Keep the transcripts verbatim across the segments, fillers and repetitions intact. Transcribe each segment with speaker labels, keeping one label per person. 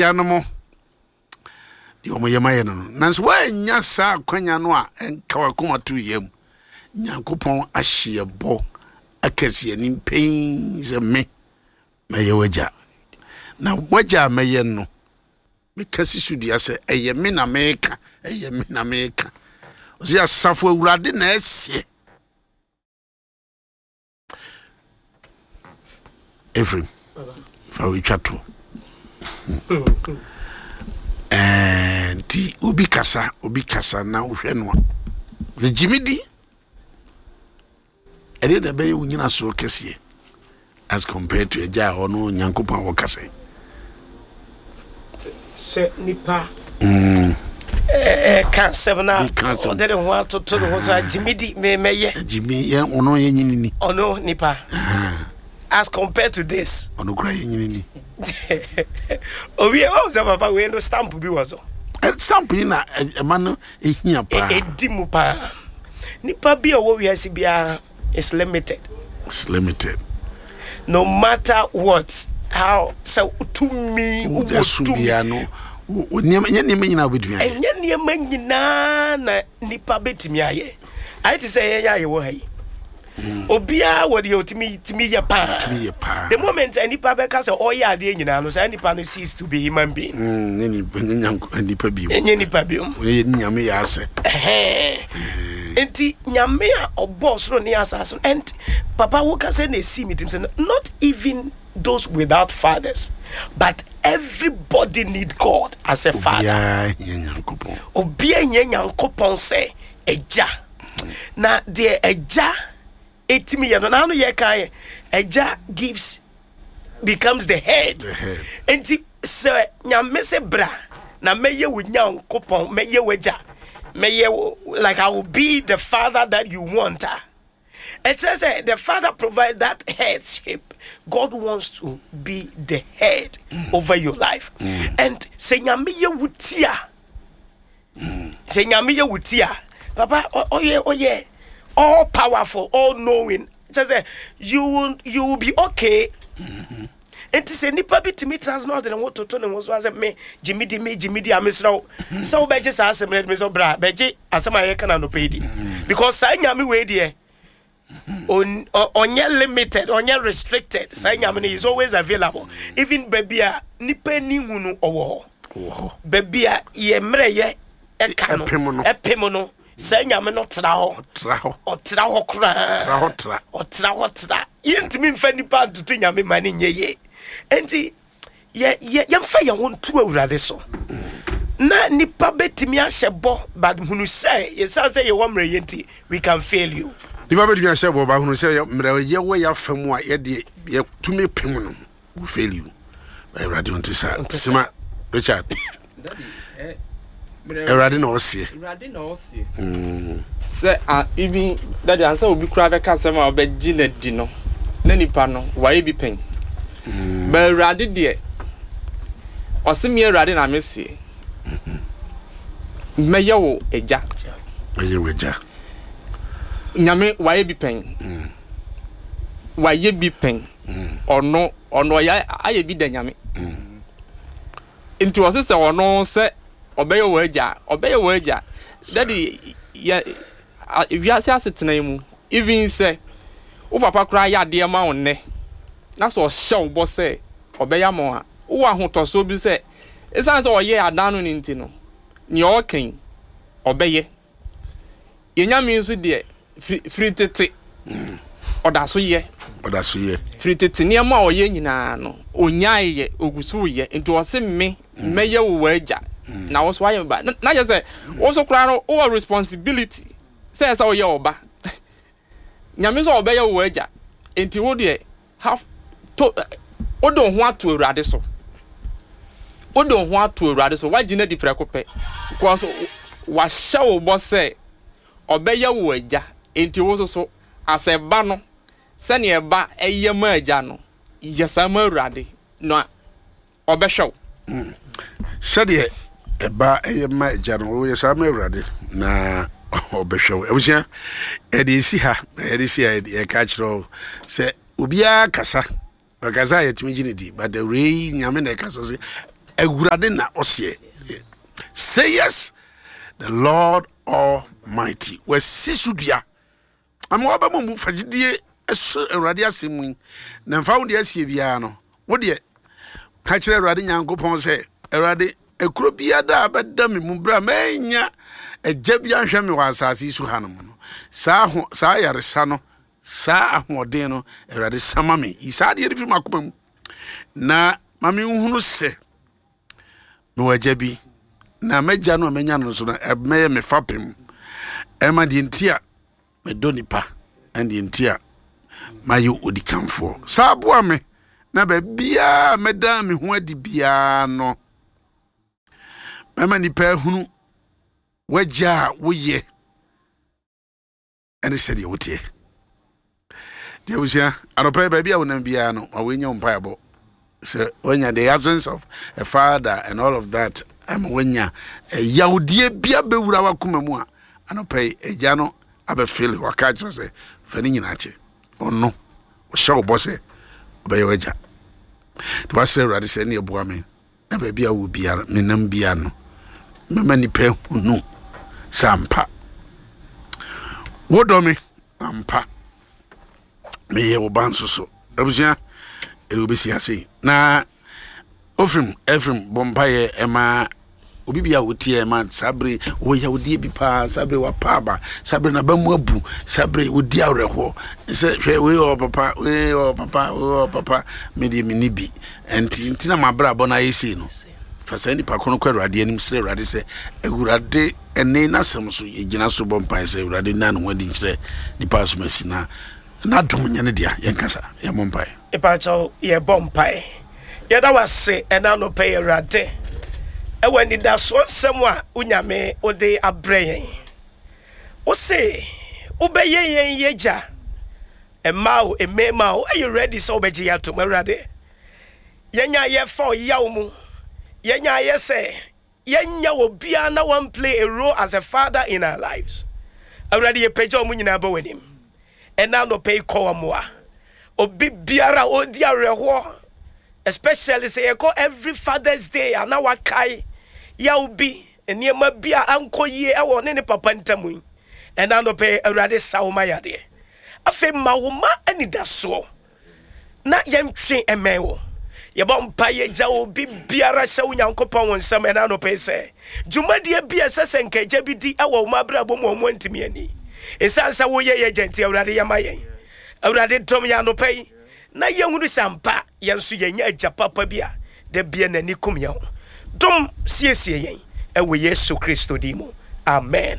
Speaker 1: Agyanom deɛ wɔyɛ ma yɛ no no nanso woannya saa akwanya no a, ɛnka wakoma to yam. Nyankopɔn ahye yɛ bɔ akɛse anim pɛn sɛ me mɛyɛ w'agya, na w'agya a mɛyɛ no, meka si so dua sɛ ɛyɛ me na meka, ɛyɛ me na meka. Ɔsɛ Asafo Awurade na ɛseɛ. Efrim fa wetwa to. Ɛɛ, nti obi kasa, obi kasa na wohwɛ no a, sɛ gyimi di ɛdeɛ na ɛbɛyɛ wo nyina soɔ kɛseɛ as compared to agya a ɔno Nyankopɔn a wɔkasa yi.
Speaker 2: Sɛ nipa ɛka asɛm na
Speaker 1: Bi ka asɛm.
Speaker 2: Ɔde ne ho atoto ne ho so agyimi di me mɛyɛ.
Speaker 1: Gyimi yɛ ɔno yɛ nyini ni.
Speaker 2: Ɔno nipa as compared to this.
Speaker 1: Ɔno kora yɛ nyini ni.
Speaker 2: Owie wɔn sɛ papa wei no, stamp bi wɔ so.
Speaker 1: Ɛ, stamp yi na ɛ- ɛma no ɛhia paa.
Speaker 2: Ɛdi mu paa. Nipa bi a ɔwɔ wiase biara is limited.
Speaker 1: It's limited.
Speaker 2: No matter what, how sɛ tumi wowɔ
Speaker 1: ɛso
Speaker 2: tumi
Speaker 1: biara no, wo- wo nneɛma, nyɛ nneɛma nyinaa wobɛtumi ayɛ.
Speaker 2: Ɛnyɛ nneɛma nyinaa na nipa bɛtumi ayɛ. Ayɛ te sɛ yɛyɛ a yɛwɔ ha yi, obiara wɔ deɛ ɔtumi tumi yɛ paa.
Speaker 1: Tumi yɛ paa.
Speaker 2: The moment a nipa bɛka sɛ ɔyɛ adeɛ nyinaa no, saa nipa no cease to be human being.
Speaker 1: Mm, nyɛ nipa, nyɛ nyanko- nipa bio.
Speaker 2: Ɛnyɛ nipa biom.
Speaker 1: Ɔyɛ Nyame yɛ asɛ.
Speaker 2: Ɛhɛn. Nti Nyame a ɔbɔɔ soro ne asase no, and papa, woka sɛ na ɛsii me tim sɛ not even those without fathers, but everybody need God as a father.
Speaker 1: Obiara hia Nyankopɔn.
Speaker 2: Obiara hia Nyankopɔn sɛ agya, na deɛ agya ɛtumi yɛ no, naano yɛka yɛ agya gives, becomes the head.
Speaker 1: The head.
Speaker 2: Nti sɛ Nyame sɛ bra na mɛyɛ wo Nyankopɔn, mɛyɛ w'agya, mɛyɛ wo, like I will be the father that you want a, ɛkyerɛ sɛ the father provide that headship. God wants to be the head over your life, and sɛ Nyame yɛ wo ti a, sɛ Nyame yɛ wo ti a, papa, ɔ- ɔyɛ ɔyɛ all powerful, all knowing, kyerɛ sɛ you will you will be okay. Nti sɛ nipa bi tumi tena ase na ɔde ne ho toto ne ho so asɛ me gyimi di, me gyimi di a, mesrɛ wo sɛ wobɛgye saa asɛm no, me sɛ bra bɛgye asɛm a yɛka no anɔpɛ yi di, because saa Nyame wei deɛ, on- ɔ- ɔnyɛ limited, ɔnyɛ restricted. Saa Nyame no is always available, even baabi a nipa ni hu no, ɔwɔ hɔ.
Speaker 1: Wɔ hɔ.
Speaker 2: Baabi a yɛ mmerɛ yɛ ɛka no,
Speaker 1: ɛpem no.
Speaker 2: Ɛpem no, saa Nyame no tena hɔ.
Speaker 1: Tra hɔ.
Speaker 2: Ɔtena hɔ koraa.
Speaker 1: Tra hɔ tra.
Speaker 2: Ɔtena hɔ tra. Yɛntumi mfa nipa ntoto Nyame ma ne nyɛ yie. Enti yɛ yɛ yɛmfa yɛn ho nto Awurade so, na nipa bɛtumi ahyɛ bɔ, but hunu sɛ yɛsiane sɛ yɛwɔ mmerɛ yɛ nti, we can fail you.
Speaker 1: Nipa bɛtumi ahyɛ bɔ ba, hunu sɛ yɛ- mmerɛ yɛwɔ yɛ afa mu a, yɛde yɛtumi pem no, we fail you. But Awurade ɔnte saa.
Speaker 2: Ɔnte saa.
Speaker 1: Sima Richard.
Speaker 3: Daddy, eh, mmerɛ-
Speaker 1: Awurade na ɔseɛ.
Speaker 3: Awurade na ɔseɛ sɛ a even daddy, ansa obi koraa bɛka asɛm a ɔbɛgye n'adi no, na nipa no wayɛ bi pɛn ba. Awurade deɛ, ɔse me Awurade na meseɛ mɛyɛ wo agya.
Speaker 1: Ɛyɛ w'agya.
Speaker 3: Nyame wayɛ bi pɛn, wayɛ bi pɛn. Ɔno ɔno ɔyɛ ayɛ bi da. Nyame nti ɔse sɛ ɔno sɛ ɔbɛyɛ wɔ agya a, ɔbɛyɛ wɔ agya. Daddy, yɛ a- wiase asetena yi mu, even sɛ wo papa koraa yɛ adeɛ ma wo nnɛ na sɛ ɔhyɛ wo bɔ sɛ ɔbɛyɛ ama wo a, wowɔ ahotɔsoɔ bi sɛ ɛsiane sɛ ɔyɛ adan no ne nti no, nea ɔreka yi ɔbɛyɛ. Yɛn Nyame nso deɛ, firi firi tete ɔda so yɛ.
Speaker 1: Ɔda so yɛ.
Speaker 3: Firi tete nneɛma a ɔyɛ nyinaa no, ɔnyae yɛ, ɔgu so yɛ. Nti ɔse me mɛyɛ wo w'agya na wo so ayɛ me ba. na na kyerɛ sɛ wo nso koraa no, wowɔ responsibility sɛ ɛsɛ woyɛ ɔba. Nyame nso ɔbɛyɛ wo w'agya, nti wo deɛ have to wode wo ho ato Awurade so, wode wo ho ato Awurade so, woagye no adi prɛko pɛ, because wahyɛ wo bɔ sɛ ɔbɛyɛ wo agya. Nti wo nso so asɛ ba no, sɛnea ɛba ɛyɛ ma agya no, yɛ saa ma Awurade na ɔbɛhwɛ wo.
Speaker 1: Sɛdeɛ ɛba ɛyɛ ma agya no, woyɛ saa ma Awurade na ɔbɛhwɛ wo. Abusua, ɛde ɛsi ha na yɛde si ha. Yɛka kyerɛ wo sɛ obiara kasa, ɔkasa a yɛtumi gye ne di, but awurei Nyame na ɛka so sɛ Awurade na ɔseɛ. Say yes, the Lord Almighty. Wasi so dua. Ama wabɛma mu fagyidie ɛso Awurade asɛm mu yi. Na mfa wo deɛ asie biara no, wo deɛ ka kyerɛ Awurade Nyankopɔn sɛ, Awurade, ekuro biara da a bɛda me mu berɛ a manya agya bi ahwɛ me wɔ asase yi so hanom no, saa ho saa yaresa no, saa ahoɔden no, Awurade sama me. Yi saa adeɛ no firi m'akoma mu. Na ma menhunu sɛ mewɔ agya bi, na m'agya no a manya no nso no, ɛbɛyɛ me fapem. Ɛma deɛ nti a medɔ nipa, ɛne deɛ nti a mayɛ odikanfoɔ. Saa boa me na baabiara mɛda me ho adi biara no, mɛma nipa ahunu w'agya a woyɛ ɛne sɛdeɛ woteɛ. Deɛ abusua, anɔpa yi baabi a wonam biara no, ma woanya wo mpaebɔ. Sɛ woanya the absence of a father and all of that, ama woanya yawdeɛ bi abɛwura w'akoma mu a, anɔpa yi agya no abɛfele waka akyerɛ sɛ fa ne nyinaa kyɛ. Ɔno ɔhyɛ wo bɔ sɛ ɔbɛyɛ w'agya. Nti wasrɛ Awurade sɛ ɛne ɛboa me na baabi a wɔ biara menam biara no, mɛma nipa ahunu sɛ ampa wodɔ me, ampa meyɛ wo ba nso so. Abusua, ɛde wobɛsi ase na ofirim ɛfirim bɔ mpaeɛ ɛma obi bi a wotie ɛma saa bere wɔ yawdeɛ bi paa, saa bere wapa aba, saa bere n'aba mu abu, saa bere wodi awerɛhoɔ sɛ hwɛ wei wɔ papa, wei wɔ papa, wei wɔ papa, me deɛ menni bi, nti nti na mabrabɔ no ayɛ sei no. Fa saa nipa ko no kɔ Awurade anim, srɛ Awurade sɛ Awurade ɛne n'asɛm so yɛgyina so bɔ mpaeɛ sɛ Awurade nna ne ho adi nkyerɛ nipa asom asi na n'adom nyɛ ne dea. Yɛnkasa, yɛmmɔ mpaeɛ.
Speaker 2: Mepakyɛw, yɛbɔ mpae. Yɛda wo ase ɛna anɔpa yi, Awurade, ɛwɔ anidasoɔ nsɛm a wo Nyame wode abrɛ yɛn. Wo se wobɛyɛ yɛn yɛgya, mmaa o, mmarima o, woayɛ ready sɛ wobɛgye yɛn atom. Awurade, yɛnya yɛfa ɔyaw mu, yɛnya yɛ sɛ yɛnya obiara na one play a role as a father in our lives. Awurade, yɛpagya wɔn nyinaa bɔ w'anim. Ɛna anɔpa yi kɔ wɔn mmoa. Obi biara a ɔredi awerɛhoɔ, especially sɛ yɛkɔ every Father's Day a na wakae yaw bi, nneɛma bi a ankɔ yie ɛwɔ ne ne papa ntam yi. Ɛna anɔpa yi, Awurade, sa wo ma yadeɛ. Afei ma wo ma anidasoɔ na yɛntwe mmɛn wo. Yɛbɔ mpa yɛgya obi biara hyɛ wo Nyankopɔn wo nsɛm ɛna anɔpa yi sɛ dwumadie bi a ɛsɛ sɛ nka agya bi di ɛwɔ wo abrabɔ mu a ɔmo antumi ani. Ɛsiane sɛ woyɛ yɛ agya nti, Awurade, yɛma yɛn. Awurade, dɔm yɛn anɔpa yi na yɛhunu sɛ ampa yɛn nso yɛnya agya papa bi a da bia n'ani kum yɛn ho. Dom siesie yɛn ɛwɔ Yesu Kristo din mu. Amen.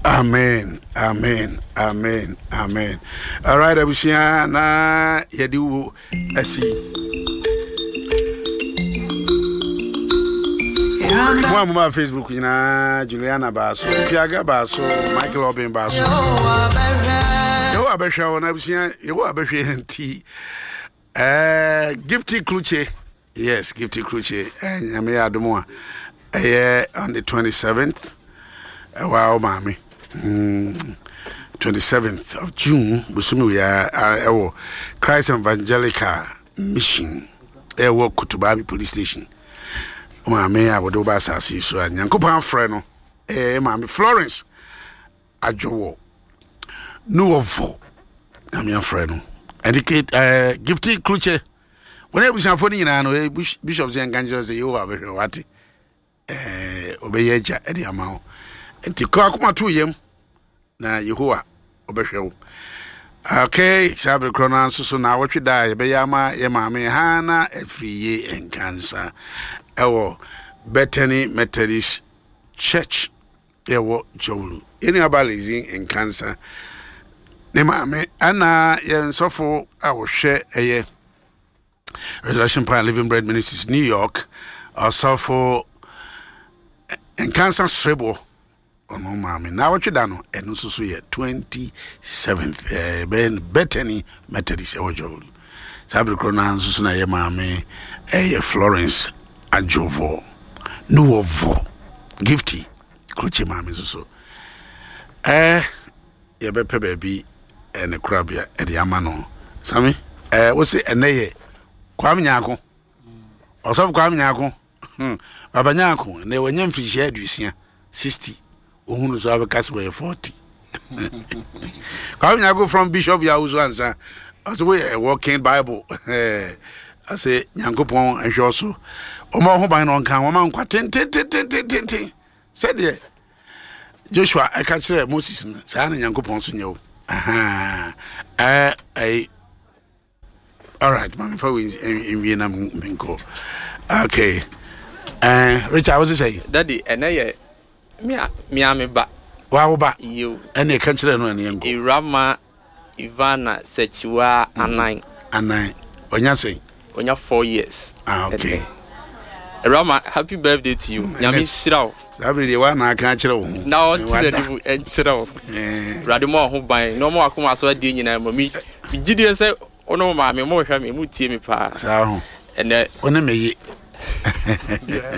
Speaker 1: Amen, amen, amen, amen. All right, abusua, na yɛde wo asi. Mo a mobaa Facebook nyinaa, Juliana baa so, Piaga baa so, Michael Obin baa so. Yehowa bɛhwɛ wo na abusua, Yehowa bɛhwɛ yɛn nti. Eh, Gifty Kluche. Yes, Gifty Kluche. Eh, Nyame yɛ adom a ɛyɛ on the twenty-seventh. Ɛwɔ a wo maame. Mm, twenty-seventh of June, bosome wei a ɛwɔ Christ Evangelical Mission. Ɛwɔ Kotobabi Police Station. Wo maame a wɔde wo ba asase yi so a Nyankopɔn afrɛ no. Ɛyɛ maame Florence Adwowo. Nuwɔfo. Nyame afrɛ no. Ɛnti Kate, eh, Gifty Kluche. Wɔn abusuafoɔ no nyinaa no, eh, Bishop sɛ nka nkyerɛ sɛ Yehowa bɛhwɛ wate. Eh, ɔbɛyɛ agya ɛde ama wo. Nti kɔ akoma to yam na Yehowa ɔbɛhwɛ wo. Okay, saa bere korɔ no ara nso so na awɔtwe da a yɛbɛyɛ ama yɛ maame Hana Afriye Nkansa ɛwɔ Bethany Methodist Church yɛwɔ Jowlu. Yɛn nuaba Lizzie Nkansa ne maame ɛna yɛn sɔfo a wɔhwɛ ɛyɛ Resurrection Power Living Bread Ministries New York, ɔsɔfo Nkansa Srebo, ɔno maame na awɔtwe da no ɛno nso so yɛ twenty-seventh, ɛbɛyɛ no Bethany Methodist ɛwɔ Jowlu. Saa bere korɔ no ara nso so na yɛ maame ɛyɛ Florence Adwovo Nuwɔvɔ Gifty Krukye maame nso so ɛɛ yɛbɛpɛ baabi ɛne korabea ɛde ama no. Sami, ɛɛ wosi ɛnɛ yɛ Kwame Nyako, ɔsɔfo Kwame Nyako. Hmm. Baba Nyanko na wanya mfirihyia aduosia, sixty. Ohunu so abɛka sɛ wɔyɛ forty. Kwame Nyako from Bishop Yawusu ansa. Ɔsɛ woyɛ a walking Bible. Ɔsɛ Nyankopɔn nhwɛ so. Ɔma ho ban na ɔnka wɔma nkwa tententententen. Sɛdeɛ Joshua ɛka kyerɛ Moses no, saa na Nyankopɔn so nyɛ wo. Aha. Ɛɛ ɛyi. All right, maame fa wei nwie na menkɔ. Okay. Uh, Richard, what's it say?
Speaker 3: Daddy, ɛnɛ yɛ me a me a me ba.
Speaker 1: Wa wo ba.
Speaker 3: Yew.
Speaker 1: Ɛne ɛka kyerɛ no ɛne yɛnkɔ.
Speaker 3: Ewurama Ivana Sɛkyiwa anan.
Speaker 1: Anan. Ɔnya sɛn?
Speaker 3: Onya four years.
Speaker 1: Ah, okay.
Speaker 3: Ewurama, happy birthday to you. Nyame nhyira wo.
Speaker 1: Saa bere deɛ wa na aka akyerɛ wo ho.
Speaker 3: Na ɔnte n'anim nkyerɛ wo. Awurade ma ɔho ban na ɔma wakoma so adeɛ nyinaa ma mi. Megye die sɛ wo ne wo maame mo hwɛ me, mo tie me paa.
Speaker 1: Saa ho.
Speaker 3: Ɛnɛ.
Speaker 1: Wo ne me ye.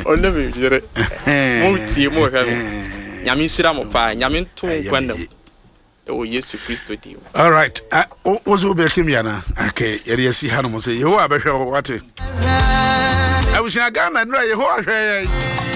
Speaker 3: Wo ne me yere. Mo tie mo hwɛ me. Nyame nhyira mo paa. Nyame nto wo nkwa nna mu. Ɛwɔ Yesu Kristo din mu.
Speaker 1: All right. Uh, wo so wobɛka mi anaa? Okay, yɛde asi ha nom sɛ Yehowa bɛhwɛ wo wate. Abusua Ghana nnura Yehowa hwɛ yɛn.